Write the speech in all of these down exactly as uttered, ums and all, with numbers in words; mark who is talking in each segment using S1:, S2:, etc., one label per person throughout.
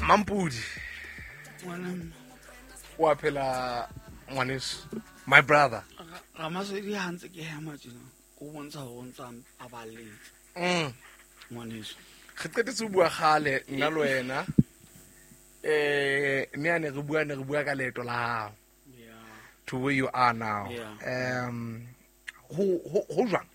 S1: Mampudi wa phela ngwaneso, my brother.
S2: Ramasedi ha ntse ke hema tjena o bontsha hore o ntsa a baletse.
S1: Mm.
S2: Ngwaneso.
S1: Re qetetse ho bua kgale nna le wena. Eh mme a ne re bua ne re bua ka leeto la hao.
S2: Yeah.
S1: To where you are now.
S2: Yeah.
S1: Um ho ho ho jwang?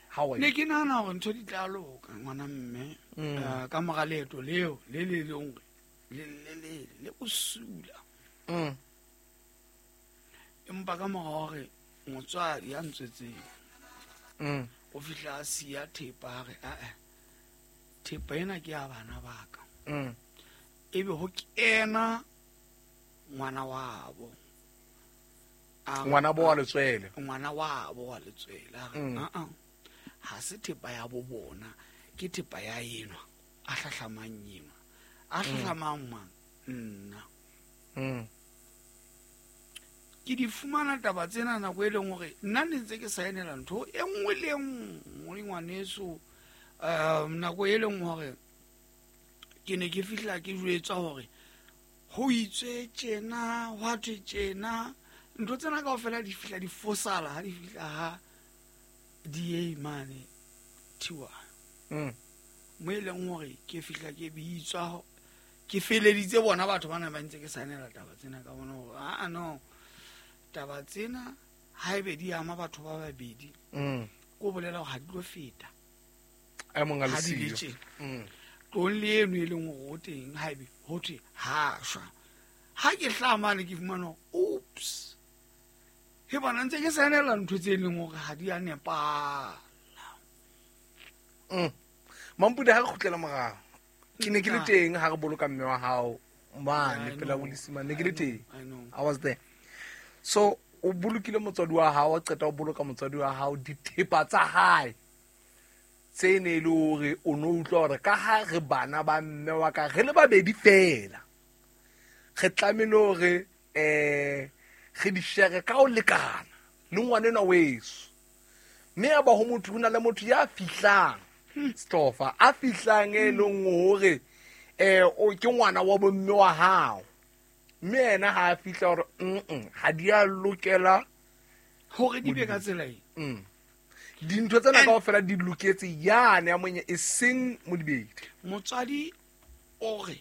S1: How are
S2: Ne
S1: you?
S2: ke nahana hore ntho di tla loka ngwana mme.
S1: Mm.
S2: Eh, ka mora leeto leo le le leng hore le le le le bosula.
S1: Mm.
S2: Empa ka mora hore motswadi ya ntswetseng
S1: Mm.
S2: o fihla a siya thepa a re, "Ah-eh, thepa ena ke ya bana ba ka."
S1: Mm.
S2: Ebe ho kena ngwana wabo. A re,
S1: Ngwana bo wa letswele.
S2: Ngwana wabo wa letswele. A re,
S1: Mm.
S2: "Ah-ah, ha se thepa ya bo bona, ke thepa ya enwa a hlahlamang enwa. A hlahlamang mang? Nna."
S1: Mm.
S2: Ke di fumana taba tsena nako e leng hore nna ne ntse ke saenela ntho e nngwe le e nngwe ngwaneso. Um, nako e leng hore ke ne ke fihla ke jwetswa hore ho itswe tjena, hwa thwe tjena. Ntho tsena kaofela di fihla di fosala ha di fihla ha D A mane Thiwa.
S1: Mm.
S2: Mo e leng hore ke fihla ke bitswa, ke feleditse bona batho bana ba ntse ke saenela taba tsena ka bona hore, ah, no, taba tsena haebe di ama batho ba babedi,
S1: Mm.
S2: ko bolela hore ha di tlo feta.
S1: A mong a le
S2: Ha di le
S1: siyo.
S2: tjena.
S1: Mm.
S2: Tlong le eno e leng hore o teng haebe ho thwe ha shwa. Ha ke hlaha mane ke fumana hore, oops, he bona ntse ke saenela ntho tse leng hore ha di a nepahala.
S1: Mm. Mampudi, ha re kgutlela morao, ke ne ke le
S2: Nna.
S1: teng ha re boloka mme wa hao mane
S2: I
S1: pela
S2: know.
S1: Bolisimane, ne ke le
S2: I know,
S1: teng.
S2: I know.
S1: I was there. So o bolokile motswadi wa hao, wa qeta ho boloka motswadi wa hao dithepa tsa hae tse ne e le hore o no utlwa hore ka ha re bana ba mme wa ka re le babedi fela, re tlamehile hore, eh, re di share ka ho lekana le ngwanenwa weso. Mme ya ba ho motho, ho na le motho ya fihlang Stofa, a fihlang e leng hore, eh, o ke ngwana wa bomme wa hao. Mme yena ha a fihla hore, mm-mm, ha di a lokela
S2: hore di be ka tsela e.
S1: Mm. Dintho tsena
S2: And
S1: kaofela di loketse yane ya monye, e seng Modibedi.
S2: Motswadi o re